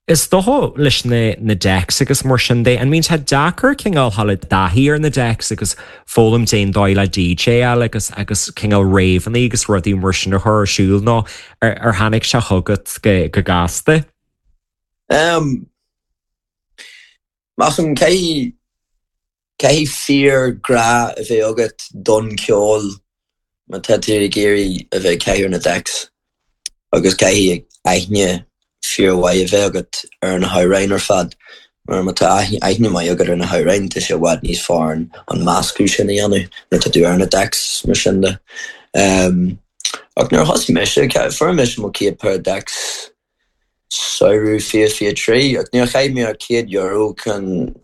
Is dócha leis na na decks agus mar sin de, an mbíonn sé deacair cineál dhul i dtaithí ar na decks agus foghlaim cén dóigh le DJ-áil agus agus cineál rave-anna agus rudaí mar sin a chur ar siúl nó ar ar tháinig sé chugat go go gasta? Um, measaim caithfidh Caithfidh fíor-ghrá a bheith agat don cheol má tá tú ag iarraidh a bheith ag caitheamh na decks agus caithfidh aithne fíormhaith a bheith agat ar na hamhráin ar fad mar má tá aithne maith agat ar na hamhráin tá sé i bhfad níos fearr an meascadh sin a dhéanamh nuair atá tú ar na decks mar sin de. Ach nuair a thosaigh mise, fuair mise mo chéad pair of decks Samhradh 2023, ach níor chaith mé ach €100 chun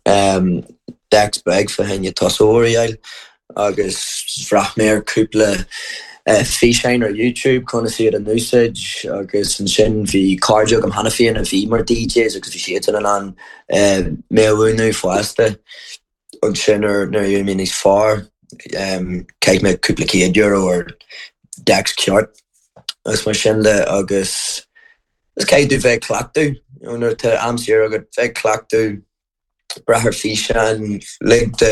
decks beag fá choinne tosóir a fháil agus bhreathnaigh mé ar cúpla físeáin ar YouTube conas iad a n-úsáid agus ansin bhí cairde agam cheana féin a bhí mar DJs agus bhí siadsan in ann mé a mhúineadh fosta. Ansin nuair a d'éirigh mé níos fearr, chaith mé cúpla €100 ar decks ceart agus mar sin de agus is caithfidh tú bheith ag cleachtadh, you know, nuair atá am saor agat, bheith ag cleachtadh, breach ar físeáin, lig do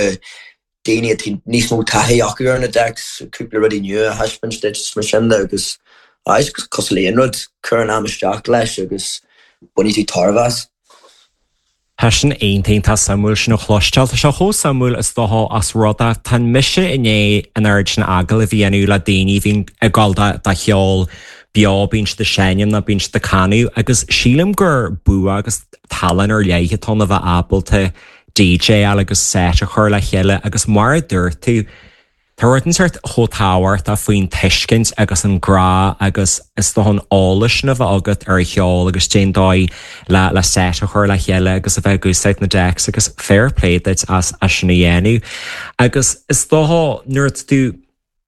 daoine atá níos mó taithí acu ar na decks cúpla rudaí nua a thaispeáint duit is mar sin de agus aye, is cosúil le aon rud, cuir an am isteach leis agus bainfidh tú tairbhe as. Tá sin iontach, iontach suimiúil sin a chloisteáil. Tá sé chomh suimiúil is dócha ós rud é, tá mise i ndiaidh an oiread sin agallamh a dhéanamh le daoine a bhíonn ag dul do cheol beo, bíonn siad ag seinm nó bíonn siad ag canadh agus sílim gur bua agus tallann ar leith atá ann a bheith ábalta DJ-áil agus set a chur le chéile agus mar a dúirt tú, Tá rud inteacht chomh tábhachtach faoin tuiscint agus an grá agus is dócha an eolas sin a bheith agat ar an cheol agus cén dóigh le le set a chur le chéile agus a bheith ag úsáid na decks agus fair play duit as as sin a dhéanamh. Agus is dócha nuair atá tú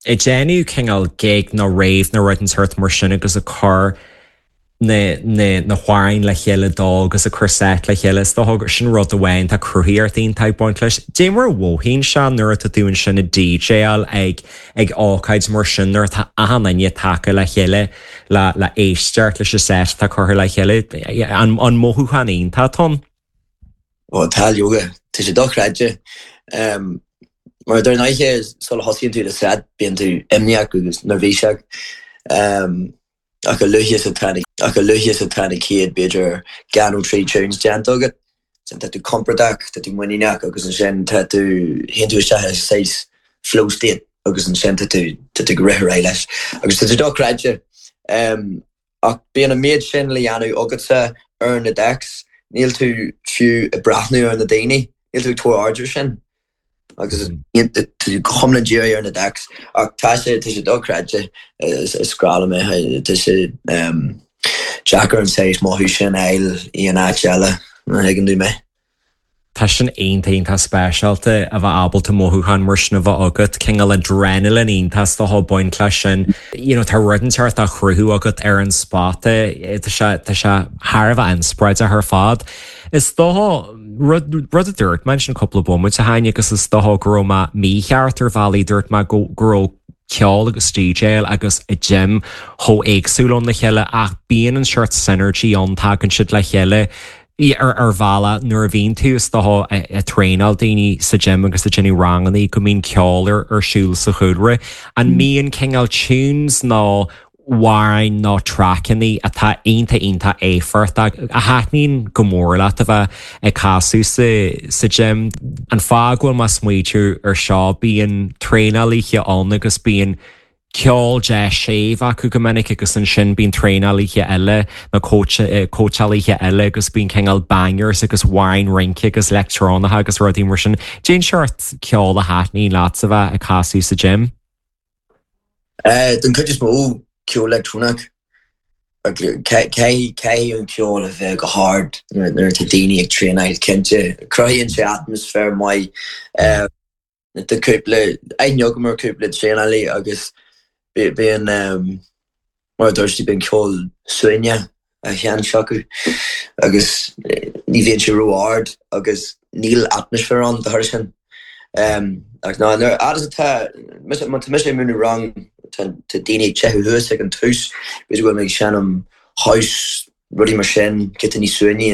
ag déanamh cineál gig nó rave nó rud inteacht mar sin agus ag cur na na na hamhráin le chéile dó agus ag cur set le chéile. Is dócha gur sin rud amháin tá cruthaíocht iontach ag baint leis. Dé mar a mhothaíonn sé nuair atá tú ansin ag DJáil ag ag ócáid mar sin nuair atá achan duine tagtha le chéile le le éisteacht leis an set atá curtha le chéile. An an mothúchán iontach atá ann? Ó tá leoga, tá sé dochreidte. Mar dar ndóigh sula thosaíonn tú le set bíonn tú imníoch agus neirbhíseach. Ach a luaithe is atá na, ach a luaithe is atá na chéad, b'fhéidir, dhá nó trí tunes déanta agat, ansin tá tú compordach, tá tú muiníneach agus ansin tá tú, théann tú isteach i saghas flow state agus ansin tá tú, tá tú ag rith ar aghaidh leis. Agus tá sé dochreidte. Ach bíonn an méid sin le dhéanamh agatsa ar na decks, níl tú fiú ag breathnú ar na daoine, níl tú ag tabhairt aird ar sin. agus tá tú go hiomlán dírithe ar na decks ach tá sé tá sé dochreidte is grá liom é tá sé deacair an saghas mothú sin a fháil in aon áit eile má thuigeann tú mé. Tá sin iontach iontach speisialta a bheith ábalta mothúchán mar sin a bheith agat, cineál adrenaline iontach is dócha ag baint leis sin. You know tá rud inteacht á chruthú agat ar an spota, tá sé tá sé thar a bheith inspioráideach ar fad. Is dócha, rud, rud a dúirt mé ansin cúpla bomaite ó shin agus is dócha go raibh mé mícheart ar bhealaí, dúirt mé go, go raibh ceol agus DJáil agus an gym chomh éagsúil óna chéile ach bíonn an seort synergy ann, tagann siad le chéile ar, ar bhealach nuair a bhíonn tú is dócha ag traenáil daoine sa gym agus ag déanamh rangannaí go mbíonn ceol ar, ar siúl sa chúlra. An mbíonn cineál tunes nó amhráin nó traiceanna atá iontach iontach éifeachtach a thaitníonn go mór leat a bheith ag casadh sa sa gym. An fáth go bhfuil mé ag smaoitiú ar seo, bíonn traenálaithe ann agus bíonn ceol deas séimh acu go minic agus ansin bíonn traenálaithe eile nó cóitseálaithe eile agus bíonn cineál bangers agus amhráin rince agus leictreonacha agus rudaí mar sin. Cén seort ceol a thaitníonn leat a bheith ag casadh sa gym. Den chuid is mó, ceol leictreonach. Caithfidh an ceol a bheith go hard nuair atá daoine ag traenáil, cinnte. Cruthaíonn sé atmaisféar maith. Tá cúpla, aithne agam ar cúpla traenálaí agus bíonn, Mar a dúirt tú, bíonn ceol suaimhneach á sheinnt acu agus ní bhíonn sé ró-ard agus níl atmaisféar ann dá thoradh sin. Ach ná, nuair fhad is atá, má tá mise ag múineadh rang, tá daoine ag teitheadh thuas ag an tús, b'fhéidir go bhfuil mé ag seinm house, rudaí mar sin, giota níos suaimhní.